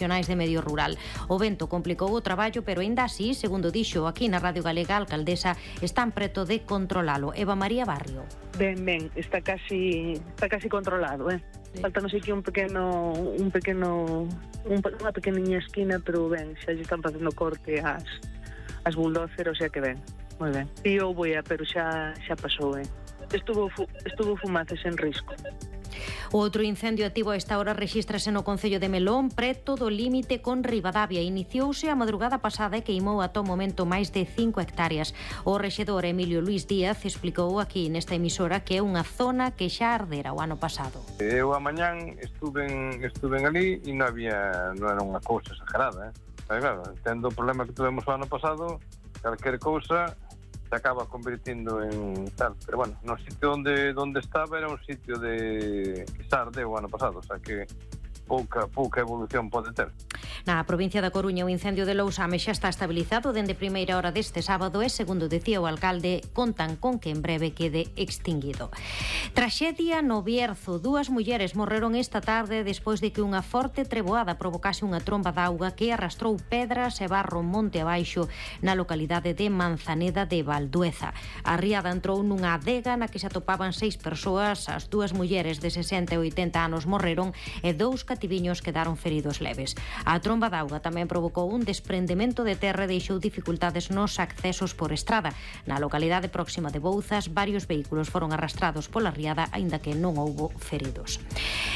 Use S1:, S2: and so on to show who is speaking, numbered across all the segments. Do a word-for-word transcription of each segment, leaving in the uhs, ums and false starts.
S1: de medio rural. O vento complicou o traballo, pero aínda así, segundo dixo aquí na Radio Galega a alcaldesa, están preto de controlalo. Eva María Barrio.
S2: Ben, ben, está casi está casi controlado, eh. Sí. Falta non sei que un pequeno un pequeno un, unha pequeniña esquina, pero ben, xa lle están facendo corte as as bulldozer, o sea que ben, moi ben. E eu vou a, pero xa xa pasou, eh. Estuvo fu, estuvo fumaces en risco.
S1: Outro incendio activo a esta hora rexístrase no concello de Melón, preto do límite con Ribadavia. Iniciouse a madrugada pasada e queimou ata o momento máis de cinco hectáreas. O rexedor Emilio Luís Díaz explicou aquí nesta emisora que é unha zona que xa ardera o ano pasado.
S3: Eu a mañán estuve estuve ali e non había, non era unha cousa exagerada, eh? Pero claro, tendo o problema que tuvemos o ano pasado, calquer cousa se acaba convirtiendo en tal, pero bueno, no sitio onde onde estaba era un sitio de que xa ardeu o ano pasado, o sea que pouca pouca evolución pode ter.
S1: Na provincia da Coruña o incendio de Lousame xa está estabilizado dende primeira hora deste sábado e, segundo dicía o alcalde, contan con que en breve quede extinguido. Traxedia no Bierzo. Dúas mulleres morreron esta tarde despois de que unha forte treboada provocase unha tromba de auga que arrastrou pedras e barro monte abaixo na localidade de Manzaneda de Valdueza. A riada entrou nunha adega na que se atopaban seis persoas. As dúas mulleres de sesenta e oitenta anos morreron e dous cativiños quedaron feridos leves. A tromba de auga tamén provocou un desprendemento de terra e deixou dificultades nos accesos por estrada. Na localidade próxima de Bouzas, varios vehículos foron arrastrados pola riada, aínda que non houbo feridos.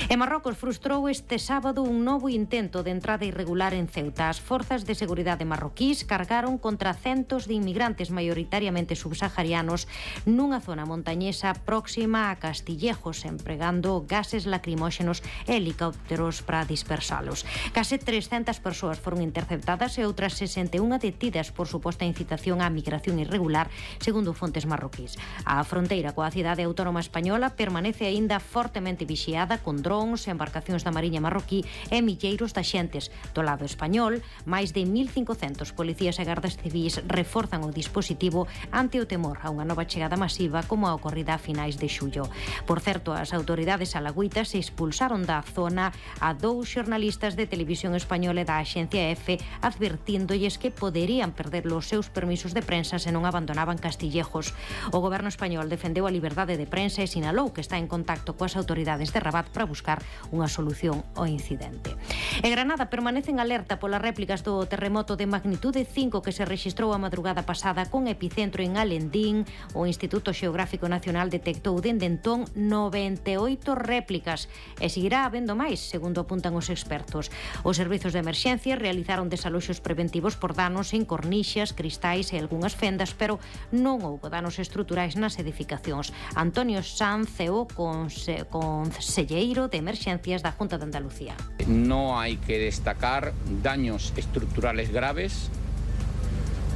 S1: E Marrocos frustrou este sábado un novo intento de entrada irregular en Ceuta. As forzas de seguridade marroquís cargaron contra centos de inmigrantes maioritariamente subsaharianos nunha zona montañesa próxima a Castillejos, empregando gases lacrimóxenos e helicópteros para dispersalos. Case trescentas persoas foron interceptadas e outras sesenta e unha detidas por suposta incitación á migración irregular, segundo fontes marroquís. A fronteira coa cidade autónoma española permanece aínda fortemente vixiada con drons, embarcacións da Mariña marroquí e milleiros de axentes. Do lado español, máis de mil cincocentos policías e gardas civís reforzan o dispositivo ante o temor a unha nova chegada masiva como a ocorrida a finais de xullo. Por certo, as autoridades alagüitas expulsaron da zona a dous xornalistas de televisión española e da axencia EFE, advertíndolles que poderían perder os seus permisos de prensa se non abandonaban Castillejos. O goberno español defendeu a liberdade de prensa e sinalou que está en contacto coas autoridades de Rabat para buscar unha solución ao incidente. E Granada permanece en alerta polas réplicas do terremoto de magnitude cinco que se rexistrou a madrugada pasada con epicentro en Alendín. O Instituto Xeográfico Nacional detectou dende entón noventa e oito réplicas e seguirá habendo máis, segundo apuntan os expertos. Os servizos de emerxencia realizaron desaloxos preventivos por danos en cornixas, cristais e algunhas fendas, pero non houbo danos estruturais nas edificacións. Antonio Sanz é o conse conselleiro de emerxencias da Junta de Andalucía.
S4: No hay que destacar daños estructurales graves,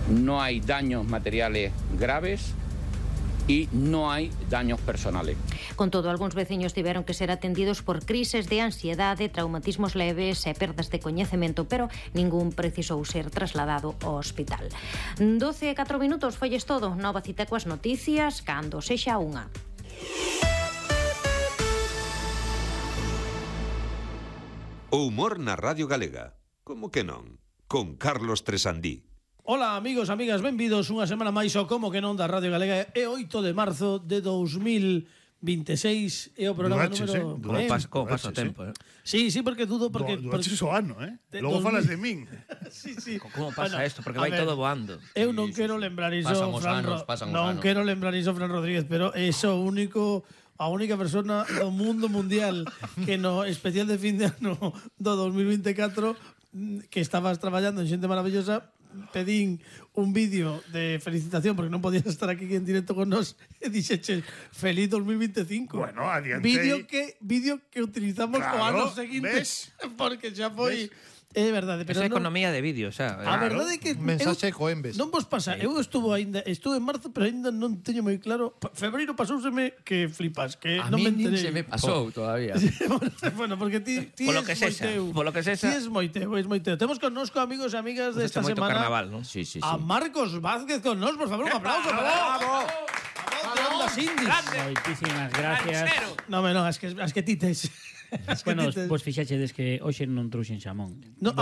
S4: no hay daños materiales graves e non hai daños personales.
S1: Con todo, algúns veciños tiveron que ser atendidos por crises de ansiedade, traumatismos leves e perdas de coñecemento, pero ningún precisou ser trasladado ao hospital. doce e catro minutos, folles todo. Nova cita coas noticias, cando sexa unha.
S5: O humor na Radio Galega. Como que non? Con Carlos Tresandí.
S6: Ola, amigos, amigas, benvidos unha semana máis ao Como que non da Radio Galega. É oito de marzo de dous mil vinte e seis e o programa
S7: Duaches,
S6: número...
S7: Eh?
S6: Como
S7: Duaches,
S6: paso
S7: Duaches,
S6: o tempo, eh? Sí, sí, porque dudo porque...
S7: Duaches
S6: porque...
S7: o ano, eh? Logo falas de min.
S6: Sí, sí.
S8: Como pasa
S6: bueno,
S8: isto? Porque vai ver, todo voando.
S6: Eu non sí, quero sí, lembrar iso,
S8: pasan os
S6: Fran
S8: anos, pasan os
S6: non
S8: anos.
S6: quero lembrar iso, Fran Rodríguez, pero é o único... a única persona do mundo mundial que no especial de fin de ano do dos mil vinte e catro que estabas traballando en Xente Maravillosa, pedín un vídeo de felicitación porque non podías estar aquí en directo con nós e dixeche feliz dos mil vinte e cinco.
S7: Bueno, adiante.
S6: Vídeo que vídeo que utilizamos
S7: claro,
S6: o ano seguinte, ves? Porque xa foi... ¿Ves? É verdade, pero
S8: esa
S6: non...
S8: economía de vídeo, xa.
S6: A claro. Verdade é que
S7: mensaxe coembes.
S6: Non vos pasa, sí. Eu estuvo ainda, estuve en marzo, pero ainda non teño moi claro. Febreiro pasouseme que flipas, que
S8: a
S6: non me enterei.
S8: A mí se me pasou oh. todavía.
S6: Bueno, porque ti, ti
S8: polo
S6: es
S8: que sexa,
S6: moiteu.
S8: Polo que sexa.
S6: Ti es moiteu, es moiteu. Temos con nos amigos e amigas
S8: pues
S6: desta semana.
S8: Carnaval, ¿no? Sí, sí, sí.
S6: A Marcos Vázquez con nos, por favor, un aplauso.
S8: ¡Bravo!
S9: Moitísimas gracias.
S6: No, no, es que es que ti tes.
S9: Bueno, vos fixachedes que hoxe non trouxen xamón.
S6: No,